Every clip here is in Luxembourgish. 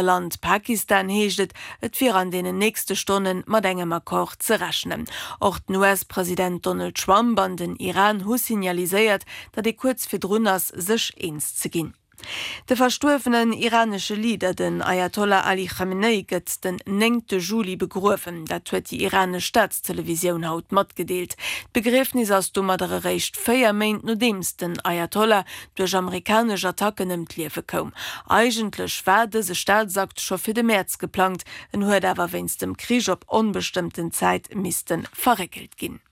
Land Pakistan heescht et, et wier an deenen nächste Stonne mat engem Accord ze rechnen. Och den US-President Donald Trump an den Iran hu signaliséiert, datt ee kuerz virdrun ass, sech eens ze ginn. De verstuerwenen iranesche Leader, den Ayatollah Ali Khamenei, gëtt den néngte Juli begruewen. Dat huet déi iranesch Staatstelevisioun haut matgedeelt. D'Begriefnis ass domadder eréischt 4 Méint nodeems den Ayatollah duerch amerikanesch Attacken ëm d'Liewe koum. Eigentlech war dëse Staatsakt scho fir de Mäerz geplangt, en huet awer wéinst dem Krich op onbestëmmten Zäit misste verréckelt ginn.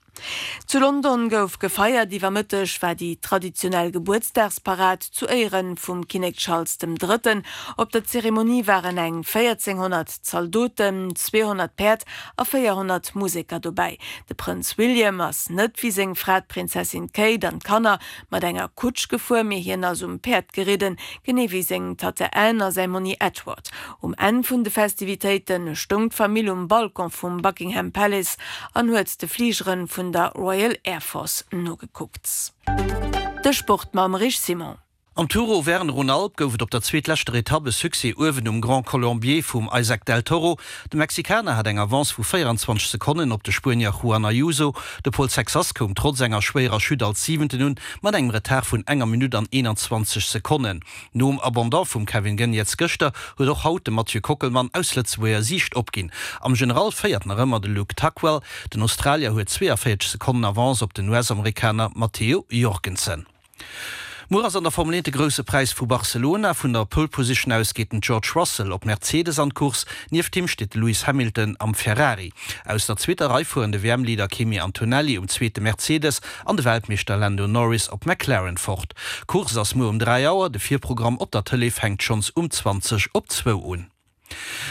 Zu London gouf gefeiert. Iwwer Mëtteg war déi traditionell Gebuertsdagsparad zu Éiere vum Kinnek Charles dem Drëtten. Op der Zeremonie waren eng 1.400 Zaldoten, 200 Päerd a 400 Museker dobäi. De Prënz William ass net wéi seng Fra d'Prinzessin Kate an d'Kanner mat enger Kutsch gefuer, mee hien ass um Päerd geridden, genee wéi seng Tatte Anne a säi Monni Edward. Um Enn vun de Festivitéite stoung d'Famill um Balcon vum Buckingham Palace an huet de Fligere vun der Royal Air Force nogekuckt. De Sport mam Rich Simon. Am Tour Auvergne-Rhône-Alpes gouf et op der zweetleschter Etapp e Succès uewen um Grand Colombier vum Isaac Del Toro. De Mexikaner hat eng Avance vu 24 Sekonnen op de Spuenier Juan Ayuso. De Paul Sexas koum trotz enger schwéierer Chute als Siwenten un, mat engem Retard vun enger Minutt an 21 Sekonnen. Nom Abandon vum Kevin Geniets gëschter huet och haut de Mathieu Kockelmann aus Lëtzebuerger Siicht opginn. Am General féiert nach ëmmer de Luke Tuckwell. Den Australier huet 42 Sekonnen Avance op den US-Amerikaner Matteo Jorgensen. Muer ass an der Formel 1 de Grousse Präis vu Barcelona. Vun der Pole Position aus geet den George Russell op Mercedes an d'Course. Nieft him steet de Lewis Hamilton am Ferrari. Aus der zweeter Rei fueren de WM-Leader Kimi Antonelli um zweete Mercedes an de Weltmeeschter Lando Norris op McLaren fort. D'Course ass muer um 3 Auer, de Virprogramm op der Tëlee fänkt schonns um 20 op zwou un.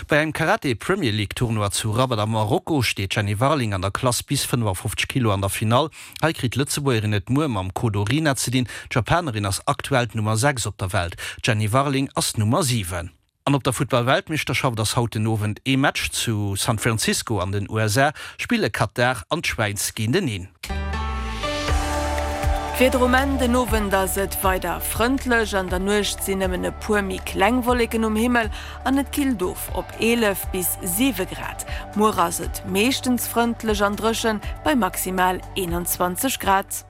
Bei engem Karate Premier League Tournoi zu Rabat am Marokko steet d'Jenny Warling an der Klass bis 55 Kilo an der Finall. Hei kritt d'Lëtzebuergerin et muer mam Kodo Rina ze dinn. D'Japanerin ass aktuell d'Nummer 6 op der Welt, d'Jenny Warling ass d'Nummer 7. An op der Futtball-Weltmeeschterschaft ass haut den Owend ee Match. Zu San Francisco an den USA spille Katar an d'Schwäiz géinteneen. Wieder um Enn, Den Owend ass et weider frëndlech, an der Nuecht sinn nëmmen e puer méi kleng Wolleken um Himmel an et killt of op 11 bis 7 Grad. Muer ass et meeschtens frëndlech an dréchen bei maximal 21 Grad.